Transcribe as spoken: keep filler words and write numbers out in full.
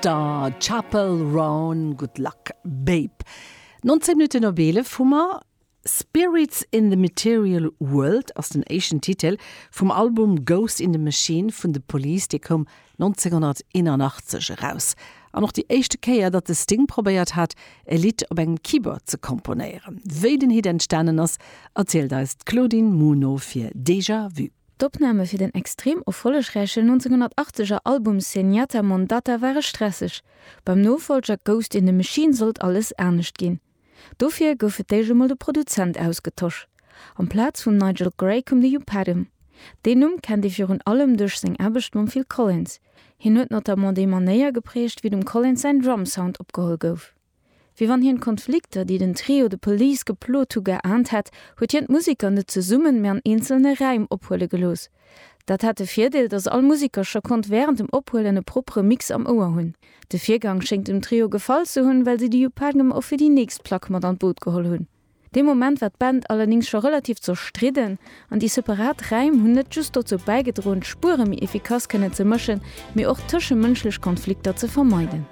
Star, Chappell Roan, Good Luck Babe. nonzéng Minutten op eelef hu mer. Spirits in the Material World ass den éischten Titel vum Album Ghost in the Machine vun The Police, dee koum nonzénghonnerteenanachtzeg eraus. An och déi éischte Kéier, datt de Sting probéiert hat, e Lidd op engem Keyboard ze komponéieren. Wéi den Hit entstanen ass, erzielt eis d'Claudine Muno fir Déjà Vu. D'Opname fir den extrem erfollegräichen nonzénghonnertachteger Album Zenyatta Mondatta ware stresseg. Beim Nofollger Ghost in the Machine sollt alles anescht ginn. Dofir gouf fir d'éischt emol de Produzent ausgetosch. Amplaz vum Nigel Gray koum de Hugh Padgham. Deen Numm kennt ee virun allem duerch seng Aarbecht mam Phil Collins. Hien huet notamment déi Manéier geprägt, wéi dem Collins säin Drumsound opgeholl gouf. Wéi wann hien d'Konflikter, déi den Trio The Police geplot hu geaant hätt, huet hien d'Museker net zesummen, mee an eenzelne Raim ophuele gelooss. Dat hat de Virdeel, datt all Museker scho konnt wärend dem Ophuelen e proppere Mix am Ouer hunn. De Virgang schéngt dem Trio gefall ze hunn, well si de Hugh Padgham och fir déi nächst Plack mat an d'Boot geholl hunn. Dee Moment war d'Band allerdéngs scho relativ zerstridden an déi separat Raim hunn net just dozou bäigedroen, d'Spuere méi efficace kënnen ze mëschen, mee och tëschemënschlech Konflikter ze vermeiden.